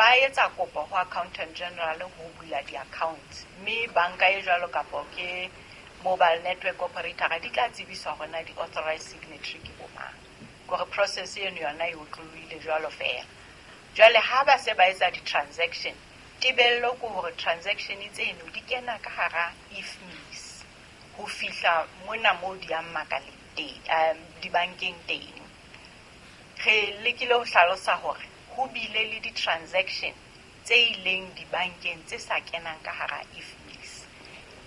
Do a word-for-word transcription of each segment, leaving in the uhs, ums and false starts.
Ba etsa kopo ho Accountant General ho bula di-accounts, mme banka e jwalo kapo ke mobile network operator di tla tsebiswa hore na di-authorized signatory ke bo mang. Kore process eno yona e otlolohile jwalo feela. Jwale ha ba se ba etsa di-transaction, tebello ke hore transaction tseno di kena ka hara I F M I S ho fihla mona moo di yang makaleng teng, um dibankeng teng. Re lekile ho hlalosa hore ho bile le di-transaction tse ileng dibankeng tse sa kenang ka hara I F M I S,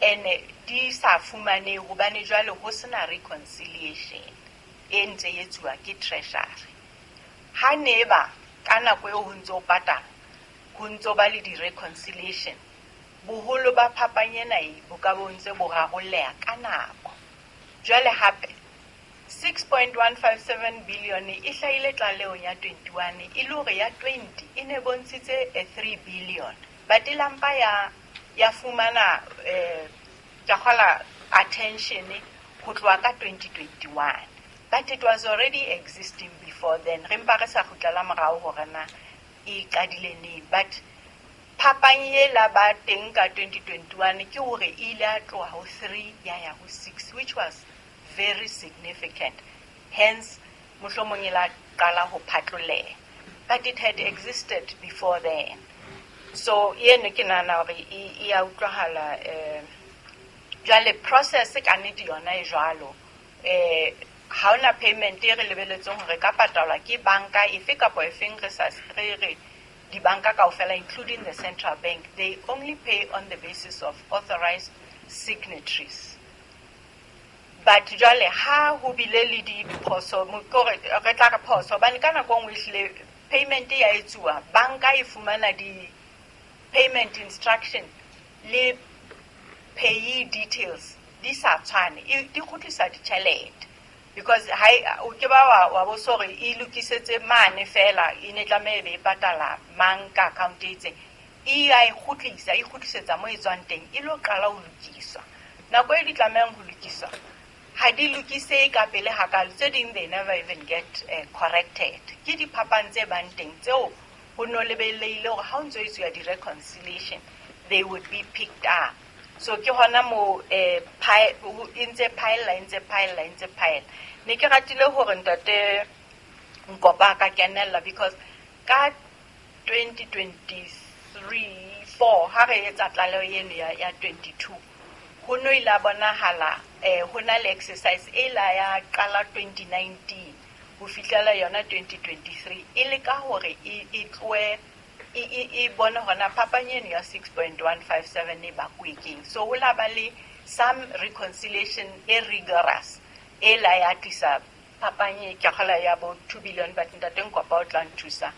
ene di sa fumanehe hobane jwale ho sena reconciliation e ntse e etsuwa ke Treasury. Ha ne ba ka nako eo ho ntso patala, ho ntso ba le di-reconciliation, boholo ba phapang ena e bo ka bo ntse bo rarolleha ka nako. Jwale hape six point one five seven billion e hlahile tlalehong ya twenty-one, e le hore ya twenty e ne bontshitse a three billion, but e lampa ya ya fumana eh ke kgola attention ho tloha ka twenty twenty-one, but it was already existing before then. Re mpa re sa kgutlela morao hore na e qadile neng, but phapang e la ba teng ka twenty twenty-one ke hore e ile ya tloha ho three ya ya ho six, which was very significant. Hence mohlomong e la qala ho phatloleha, but it had existed before then. So eno ke nahana hore e e ya utlwahala. um jwale process ka nnete yona e jwalo. eh ha hona payment e re lebeletseng hore ka patalwa ke banka efe kapa efeng. Re sa re re dibanka kaofela, including the central bank, they only pay on the basis of authorized signatories. But jwale ha ho bile le diphoso, kore re tla re phoso, hobane ka nako e nngwe ehlile payment ya etsuwa, banka e fumana di-payment instruction le payee details di sa tshwane, e di kgutlisa ditjhelete, because ha o ke ba wa wa bo so hore e lokisetse mane fela, e ne tlameha e be e patala mang ka account e itseng, e ya e kgutlisa, e kgutlisetsa mo e tswang teng, e lo qala ho lokiswa. Nako e di tlamehang ho lokiswa ha di lokisehe ka pele hakalo. Tse ding, they never even get uh, corrected. Ke diphapang tse bang teng tseo ho no lebelehile hore ha o ntso etsuwa di-reconciliation, they would be picked up. So ke hona mo eh, e ntse phaella, e ntse phaella, e ntse phaella. Ne ke ratile hore ntate Nkopa a ka kenella, because ka twenty twenty-three four ha re etsa tlaleho eno ya, ya twenty-two, ho no ile a bonahala eh, ho na le exercise e la ya qala twenty nineteen ho fihlela yona twenty twenty-three, e le ka hore e, e tlohe e, e, e bone hona phapang eno ya six point one five seven e bakuwe keng. So ho la ba le some reconciliation e rigorous e la ya tlisa phapang e ke kgola ya bo two billion. But ntate Nkopa o tla nthusa,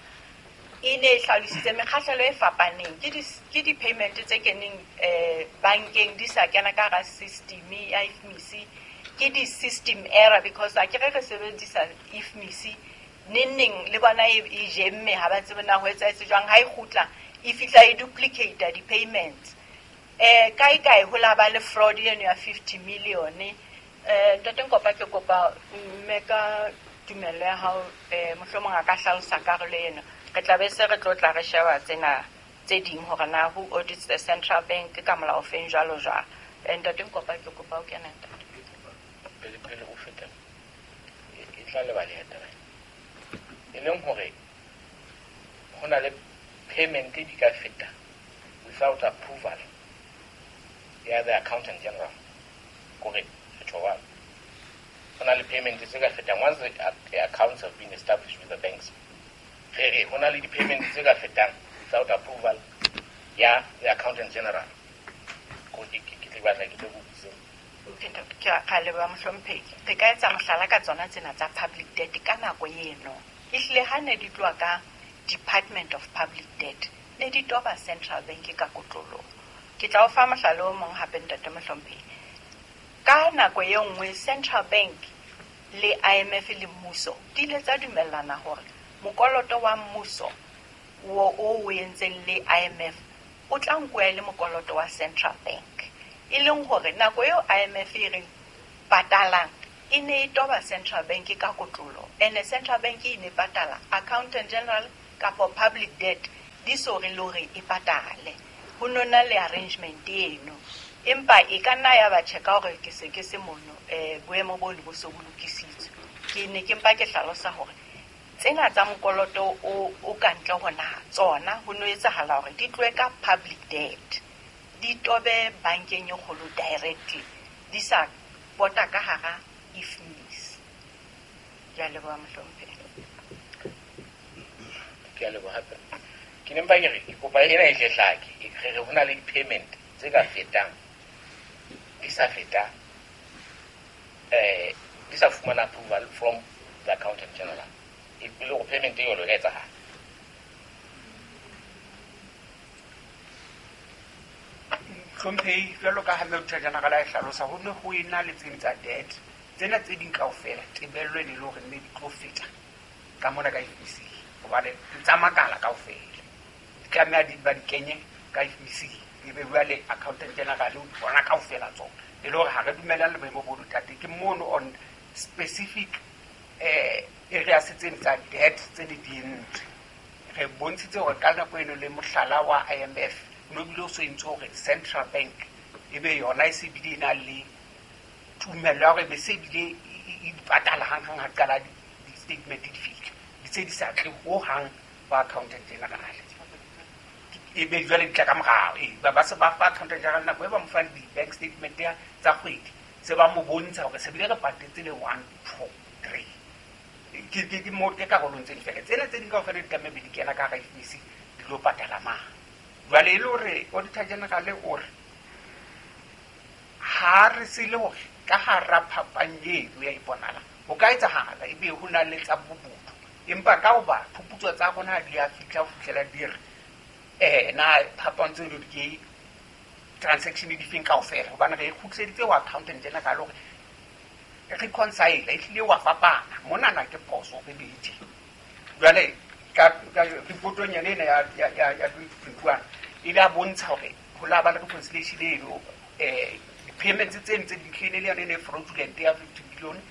e ne e hlalositse mekgahlelo e fapaneng, ke di ke di-payment tse keneng eh bankeng di sa kena ka hara system ya I F M I S, ke di-system error, because a ke re re sebedisa I F M I S neng neng le bona e e jemme, ha ba tsebe na ho etsahetse jwang. Ha e kgutla e fihla e duplicate di-payments. eh kae kae ho la ba le fraud eno ya fifty million. eh ntate Nkopa, ke kopa mme ka tumello ya hao, eh mohlomong a ka hlalosa karolo eno. Re tla be se re tlo tla re sheba tsena tse ding hore na who audits the central bank ka molao feng, jwalo jwalo. eh ntate Nkopa, ke kopa o kena, ntate. Pele pele o feta, e e tla lebaleha taba e leng hore ho na le payment di ka feta without approval ya the Accountant General. Kore re tjho jwalo, ho na le payment tse ka fetang once the, the accounts have been established with the banks. Re re ho na le di-payment tse ka fetang without approval ya the Accountant General. Ko ke ke ke batla ke tle go butse. Ke a leboha, mohlomphehi. Re ka etsa mohlala ka tsona tsena tsa public debt. Ka nako eno ehlile ha ne di tloha ka Department of Public Debt, ne di toba central bank ka kotloloho. Ke tla o fa mohlala o mong hape, ntate mohlomphehi. Ka nako e nngwe central bank le I M F le mmuso di ile tsa dumellana hore mokoloto wa mmuso wo o o entseng le I M F o tla nkuwa e le mokoloto wa central bank, e leng hore nako eo I M F e reng patalang e ne e toba central bank ka kotloloho, ene central bank e ne patala Accountant General kapa public debt. di so re le hore e patale. Ho nona le arrangement eno. Empa e ka nna ya ba tjhe ka hore ke se ke se mono eh boemo bo ne bo so bo lokisitswe. Ke ne ke mpa ke hlalosa hore tsena tsa mokoloto o o ka ntle ho naha tsona ho no etsahala hore di tlohe ka public debt, di tobe bankeng e kgolo directly, di sa pota ka hara I F M I S. Ke a leboha mohlomphehi. Ke a leboha hape. Ke ne mpa ke re ke kopa ena e tle hlake, re re ho na le di-payment tse ka fetang di sa feta eh di sa fumana approval from the accountant general. E le hore payment e jwalo e ka etsahala. Hlomphehi, jwalo ka ha Auditor General a e hlalosa, ho ne ho ena le tse ding tsa debt tsena tse ding kaofela tebello e ne le hore mme di tlo feta ka mona ka I F M I S, hobane di tsa makala kaofela di tlameha di ba di kenye ka I F M I S, ebe jwale accountant general o di bona kaofela tsona. E le hore ha re dumellane le boemo bo tate ke mono on specific eh areas tse tsa debt tse ne di entswe. Re bontshitse hore ka nako eno le mohlala wa I M F no bile o so entse hore Central Bank ebe yona e se bile e na le tumello ya hore be se bile e di patala hang hang ha qala di-statement di fihla, di tse di sa tle ho hang ba accountant general. E be jwale di tla ka morao, e ba ba se ba fa accountant general nako e ba mo fang di-bank statement ya tsa kgwedi, se ba mo bontsha hore se bile re patetse le one two three. Ke ke ke mo ke karolong tse di fela tsena tse ding kaofela di tlameha be di kena ka hara I F M I S di lo patala mang. Jwale e le hore Auditor General o re ha re se le hore ka hara phapang eno ya iponahala ho ka etsahala ebe ho na le tsa bobodu, empa ka hoba phuputso tsa rona ha di a fihla ho fihlela di re eh na phapang tseno di ke transaction di feng kaofela, hobane re e kgutliseditse ho accountant general hore reconcile e hlile wa fapana monana ke phoso re bedi. Jwale ka ka reportong yane ena ya ya ya twenty twenty-one e ile a bontsha hore ho la ba le reconciliation eno eh di-payments tse ntse di tlile le yone e ne fraudulent ya fifty billion,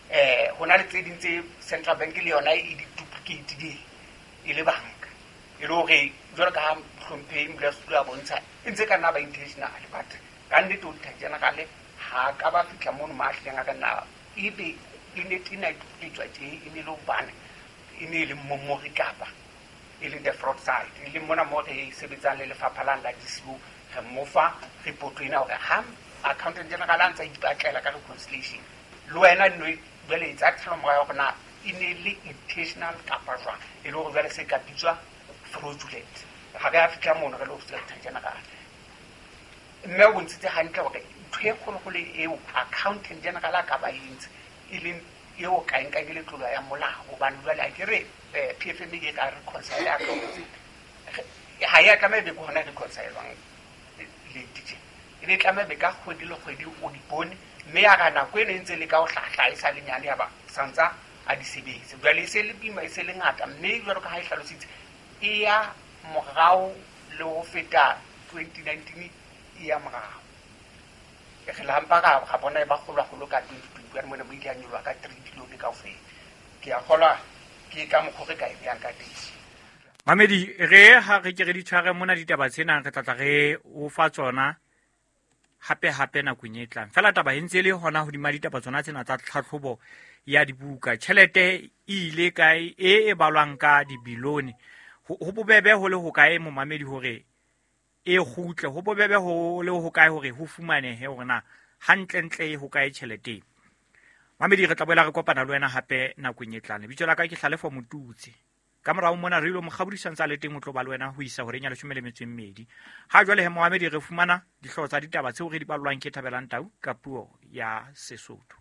eh ho na le tse ding tse Central Bank le yona e di duplicate di e le banka e le hore jwalo ka ha hlomphehi Modulasetulo a bontsha e ntse ka nna ba intentional, but ka nnete Auditor General ha ka ba fihla mono ma hlileng a ka nna ebe e ne tena e duplicate tje e ne le hobane e ne e le momori kapa e leng the fraud side, e leng mona mo re sebetsang le lefapha la la D C O re mo fa report ena hore ha accountant general a ntsa ipatlela ka reconciliation le wena no jwale etsa tshalo ya hore na e ne le intentional kapa jwang, e le hore jwale se ka bitswa fraudulent. Ha re a fihla mono re le office ya general mme o bontshitse hantle hore ntho e kgolokgolo eo accountant general a ka ba entse e leng eo ka nka ke letlolo ya molao, hobane jwale a ke re P F M e ka reconcile account ha ya tlameha be ke hona reconcile-wang late tje, e be tlameha be ka kgwedi le kgwedi o di bone, mme ya ra nako eno e ntse le ka ho hlahla e sa le nyane ya ba santsa a di sebetse. Jwale e se le bima e se le ngata, mme jwalo ka ha e hlalositse e ya morao le ho feta twenty nineteen e ya morao. Re la mpa ra ga bona e ba kgolwagolo ka twenty twenty-one mona mo ile ya nyoloha ka three billion kaofela. Ke a kgolwa ke ka mokgwa re ka e beyang ka teng. Mamedi, re ha re ke re di tshware mona ditaba tsena re tla tla re o fa tsona hape hape nakong e tlang. Fela taba e ntse e le hona hodima ditaba tsona tsena tsa tlhatlhobo ya dibuka. Tjhelete e ile kae e e balwang ka dibilione? Ho bobebe ho le hokae momamedi hore e kgutle? Ho bobebe ho le hokae hore ho fumanehe hore na hantlentle e hokae tjhelete? Mamedi, re tla boela re kopana le wena hape nakong e tlang. Lebitso la ka ke Hlalefo Motutsi. Ka morao mona re ilo mokgabodisa ntse a le teng o tlo ba le wena ho isa horeng ya leshome le metso e mmedi. Ha jwale he momamedi re fumana dihlooho tsa ditaba tseo re di ballwang ke Thabelang Tau ka puo ya Sesotho.